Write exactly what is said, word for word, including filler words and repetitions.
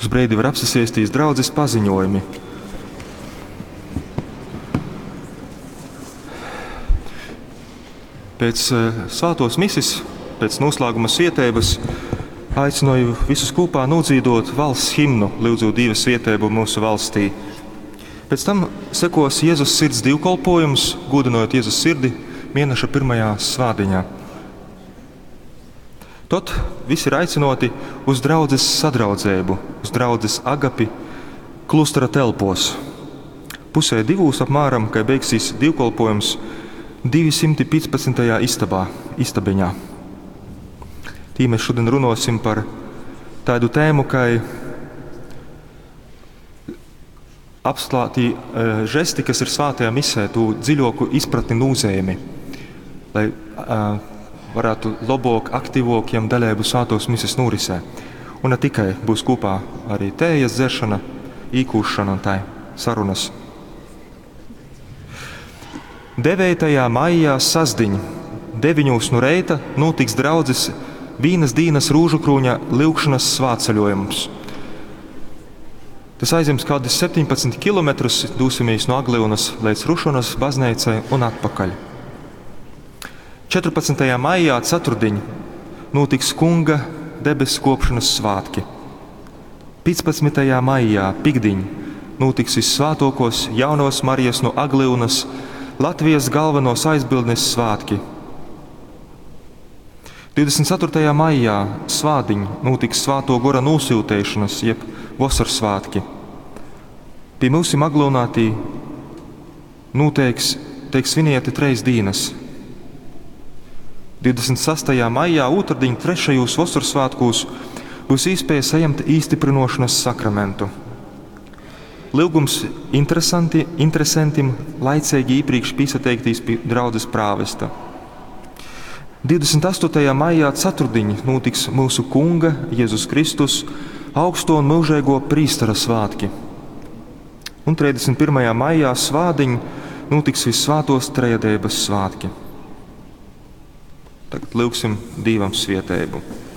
Uz breidi var apsasiestīs draudzes paziņojumi. Pēc eh, svētos misis, pēc noslēguma svietības, aicināju visus kopā nodzīdot valsts himnu, lūdzot Dieva svietēbu mūsu valstī. Pēc tam sekos Jēzus sirds divkolpojums, godinot Jēzus sirdi mēneša pirmajā svādiņā. Tad visi ir aicinoti uz draudzes sadraudzēbu, uz draudzes agapi klustera telpos. Pusē divūs apmēram, kai beigsies divkolpojums, divi simti piecpadsmitajā istabā, istabiņā. Tī mēs šodien runosim par tādu tēmu, kā apslātī e, žesti, kas ir svētajā misē, tū dziļoku izpratni nūzēmi, lai uh, varētu labāk, aktīvāk jam daļēbu svētos mises norisē. Un ne tikai, būs kopā arī tējas dzeršana, īkūšana un tā sarunas. devētajā maijā sasdiņ, deviņos no reita notiks draudzes vīnas dīnas rūžukrūņa lyugšanas svātceļojums. Tas aizņems kādus septiņpadsmit kilometrus, dosimies no Aglyunas līdz Rušonas baznīcai un atpakaļ. četrpadsmitajā maijā ceturtdiņ notiks Kunga debesu kopšanas svētki. piecpadsmitajā maijā piktdiņ notiks vissvētākos jaunos Marijas no Aglyunas Latvijas galvenos aizbildnes svētki. divdesmit ceturtajā maijā svādiņ notiks Svēto Gora nosūtēšanas, jeb vasaras svētki. Pie mūsim Aglūnā tī noteiks, tiek svinieti treis dīnas. divdesmit sastajā maijā otrdiņ trešajos vasaras svētkos būs iespēja saņemt īstiprinošanas sakramentu. Lūgums interesanti, interesantim laicīgi iepriekš piesateiktīs pie draudzes prāvesta. divdesmit astotajā maijā ceturtdiņ notiks mūsu Kunga Jēzus Kristus augsto un mūžīgo prīstera svētki. Un trīsdesmit pirmajā maijā svādiņ notiks vissvētos trejadības svētki. Tagad lūgsim Dievam svietēbu.